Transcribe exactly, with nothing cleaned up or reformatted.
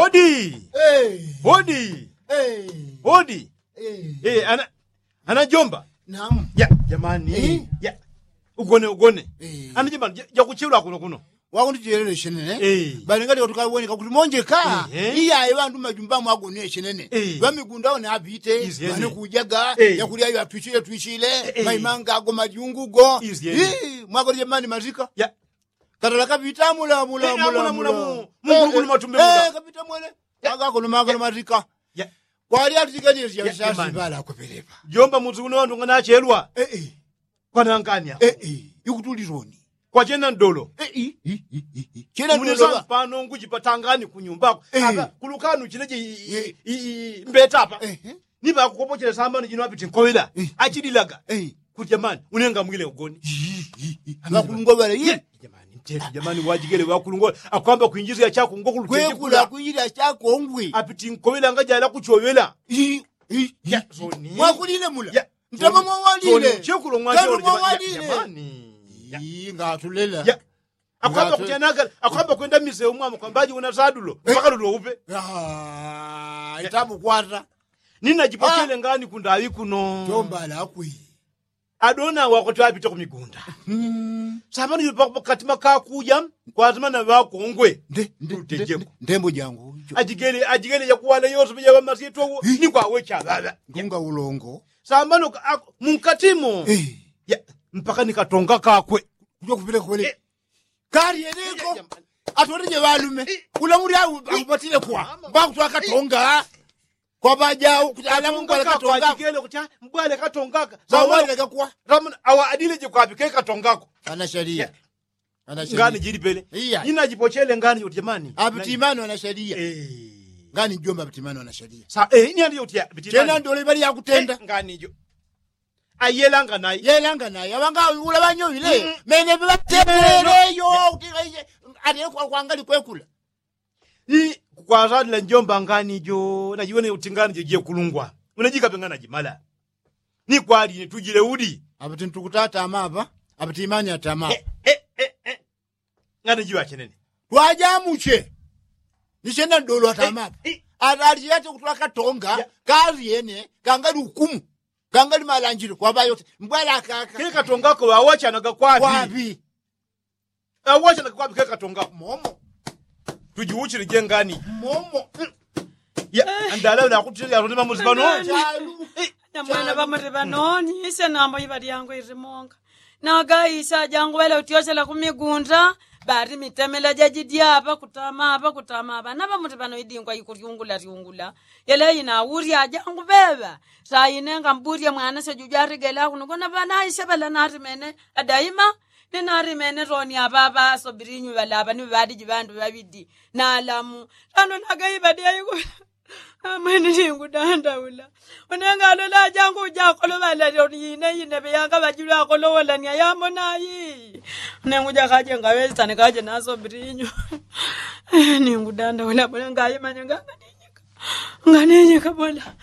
Hodi. Hodi. Hodi. Ana jomba. Jamani. Ugone ugone. Ana jamani, jakuchilwa kuno kuno. Wakundi chelele shenene. Balingali watukawoneka kuti monjeka. Iyaye wandu majumba mwagone shenene. Wamigunda one apite. Wane kujaga. Yakulya yo atwichile twichile. Maimanga ago majungu go. Mwakoli jamani mazika. Katala kapita mula mula mula mula. Mungulugulu matumbe mula. Kapita mwele. Aga kono magana mazika. Kwali atitikani yasibala akupelepa. Jomba muzi uno wandu nganachelwa. Kwanangania. Ikutuliloni. Kwachena ndolo. Chena ndolo. Pano nguchipatangani kunyumbako. Kulukanu chineche. Mbetapa. Nipakukopochele sambano jino apiti nkowela. Achililaga. Kuti jamani, unenga mwile ugoni. Wakulungwa wala ye. Jamani, wajigele wakulungwa akwamba kwinjizia chakungwa kuluteje kula. Kwinjizia chakungwi. Apiti nkowela ngajala kuchowela. Mwakulile mula. Ntama mwawalile. Chekulo mwajole jamani. Ngatulela. Akwamba kuchanagala akwamba kwenda mise umwamo kwambaji una sadulo mpaka lulo upe. Itamukwata. Ninajipochele ngani kundawi kuno. Jomba lakwi. Adona wako twapita kumigunda. Samani yupakupo katima kakuja. Kwazima na wakongwe. Ndembo jangu. Ajigele ajigele yakuwala yose yawamasitwa. Nikwawecha baba. Ngunga ulongo. Samani. Munkatimo. Mpaka nikatonga kakwe. Kujo kupile kule. Kali eleko. Atwalije walume. Ula muli au aupatile kwa mbakutwa katonga. Kwa baja au kutala mungu alakatonga. Mbwale katongaka. Sawa. Awa adile je kwa bike katongako. Ana sharia. Ngani jili pele. Ina jipochele ngani joti jamani. Abutimano ana sharia. Ngani jomba abutimano ana sharia. Sa eh ini andi joti abutimano. Chena ndole bali yakutenda ngani jo. Ayelanga naye yelanga naye abanga ula banyowile. Mene bibatebeleyo. Kuti aye ali kwangali kwekula. Kukwazalila njomba ngani jo najiwene uti ngani jo jekulungwa. Unajikape ngana jimala. Nikwali nitujile uli. Abuti ntukutata amaba. Abuti imani atama. Ngani jiwa chenene. Twajamuche. Nichena ndolo atama. Atali yete kutula katonga. Kali yene kangali ukumu. Kangali malanjilo kwa bayote mbwala akaka. Kekatongako wawachanaga kwapi? Awachanaga kwapi kekatongako momo. Tujiuchile jengani momo. Andala ula akutulia roni mamuzi pano. Nyamwana pamuli panoni ise nambo ipa lyangu ilimonga. Nagaisa jangu wele utyochela kumigunda. Bati mitemela jajidi apa kutama apa kutama apa napa muti pano idingwa ikulyungula lyungula. Yele ina ulya jangu beba. Saine ngambulye mwana sejuju aligela kuno kona panaise pala natimene adaima. Ninatimene toni apa apa asobilinyu pala apa ni pali jipandu pabidi. Nalamu. Tano nagaipa dyaiko. Amwene ningudandaula. Unenga alola ajangu ujakolola ine ine peyanga pajilwa akolola ni ayamona ayi. Unenga ujakaje ngawesitane kaje nasobirinyu. Ningudandaula bula ngayimanya nganga ninyika. Nganga ninyika bula.